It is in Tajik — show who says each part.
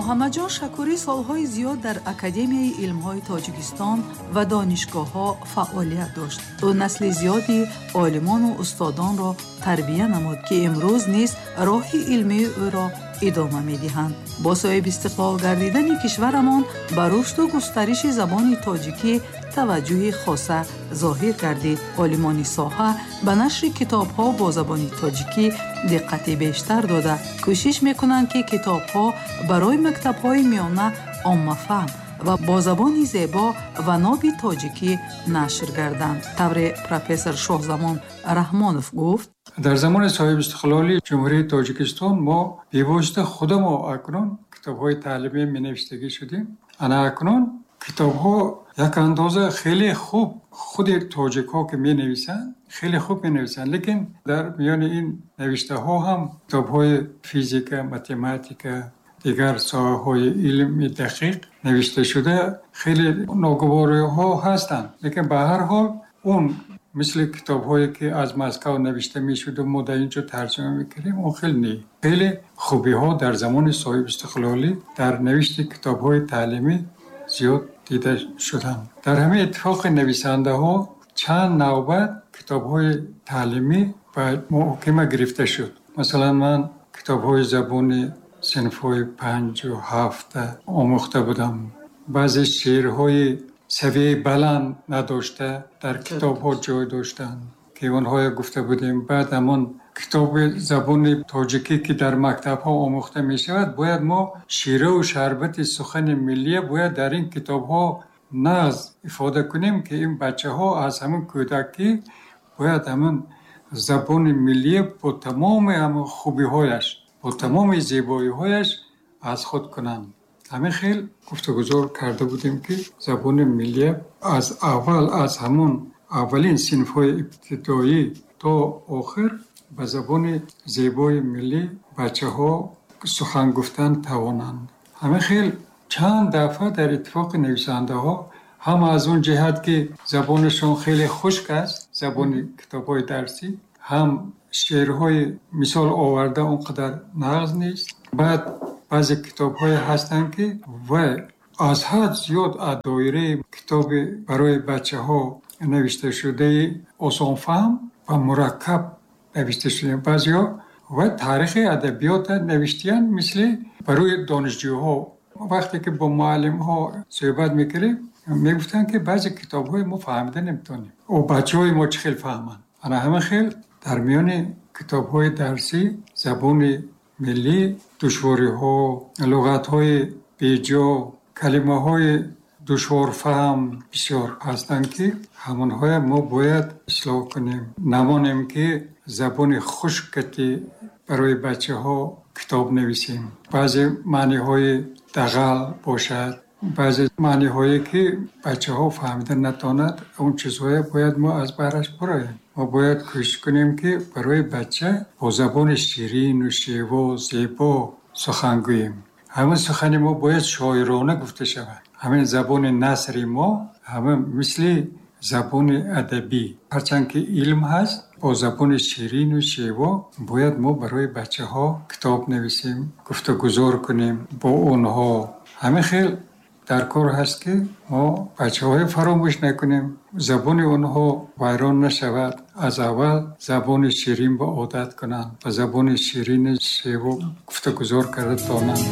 Speaker 1: Муҳаммадҷон Шакурӣ солҳои зиёд дар Академияи илмҳои Тоҷикистон ва донишгоҳҳо фаъолият дошт. Ӯ насли зиёди олимону устодонро тарбия намуд, ки имрӯз низ роҳи илмии ӯро идома медиҳанд. Бо соҳибистиқлол гардидани кишварамон ба рушду густариши забони тоҷикӣ таваҷҷӯҳи хоса зоҳир гардид. Олимони соҳа ба нашри китобҳо бо забони тоҷикӣ диққати бештар дода, кӯшиш мекунанд, ки китобҳо барои мактабҳои миёна оммафаҳм ва бо забони зебо ва ноби тоҷикӣ нашр гарданд. Тавре профессор Шоҳзамон Раҳмонов гуфт:
Speaker 2: Дар замони соҳибистиқлолии Ҷумҳурии Тоҷикистон мо бевосита худамо акнун китобҳои таълимӣ менавиштагӣ шудем. Ана акнун китобҳо як андоза хеле хуб, худи тоҷикҳо ки менависанд, хеле хуб менависанд, лекин дар миёни ин навиштаҳо ҳам китобҳои физика, математика, дигар соҳаҳои илми дақиқ навишта шуда хеле ногувориҳо ҳастанд. Лекин ба ҳар ҳол он мисли китобҳое ки аз Москав навишта мешуду мо дар ин ҷо тарҷума мекардем, он хеле не. Хеле хубиҳо дар замони соҳибистиқлолӣ дар навишти китобҳои таълимӣ зиёд дида шуданд. Дар ҳамин иттифоқи нависандаҳо чанд навбат китобҳои таълимӣ ба муҳокима гирифта шуд. Масалан, ман китобҳои забони синфҳои 5 ва 7 омӯхта будам. Баъзе шеърҳои савияи баланд надошта дар китобҳо ҷой доштанд, ки онҳоя гуфта будем. Баъд ҳамон китоби забони тоҷикӣ, ки дар мактабҳо омӯхта мешавад, бояд мо шираву шарбати сухани миллия бояд дар ин китобҳо нағз ифода кунем, ки ин бачаҳо аз ҳамин кӯдакӣ бояд ҳамин забони миллия бо тамоми ҳамин хубиҳояш, бо тамоми зебоиҳояш аз худ кунанд. Ҳамин хел гуфтугузор карда будем, ки забони миллия аз аввал, аз ҳамон аввалин синфҳои ибтидоӣ то охир ба забони зебои миллӣ бачаҳо сухан гуфтан тавонанд. Ҳамин хел чанд дафъа дар иттифоқи нависандаҳо ҳам аз он ҷиҳат, ки забонашон хеле хушк аст, забони китобҳои дарсӣ, ҳам шеърҳои мисол оварда он қадар нағз нест. Баъд баъзе китобҳое ҳастанд, ки вай аз ҳад зиёд аз доираи китоби барои бачаҳо навишташудаи осонфаҳм ва мураккаб навишта шуда. Баъзеҳо вай таърихи адабиёта навиштиянд мисли барои донишҷӯҳо. Вақте ки бо муаллимҳо суҳбат мекардем, мегуфтанд, ки баъзе китобҳои мо фаҳмида наметавонем, о бачаҳои мо чӣ хел фаҳманд? Ана ҳамин хел дар миёни китобҳои дарсӣ забони миллӣ душвориҳо, луғатҳои беҷо, калимаҳои душворфаҳм бисёр ҳастанд, ки ҳамонҳоя мо бояд ислоҳ кунем. Намонем, ки забони хушкати барои бачаҳо китоб нависем. Баъзе маъниҳои дағал бошад, баъзе маъниҳое ки бачаҳо фаҳмида натавонад, он чизҳое бояд мо аз баҳраш буроем. Мо бояд кӯшиш кунем, ки барои бача бо забони ширину шево, зебо сухан гӯем. Ҳамин сухани мо бояд шоирона гуфта шавад. Ҳамин забони насри мо ҳамин мисли забони адабӣ, ҳарчанд ки илм ҳаст, бо забони ширину шево бояд мо барои бачаҳо китоб нависем, гуфтугузор кунем бо онҳо. Ҳамин хел дар кор ҳаст, ки мо бачаҳоро фаромӯш накунем, забони онҳо вайрон нашавад, аз аввал забони ширин ба одат кунанд, ба забони ширину шево гуфтугузор карда тонанд.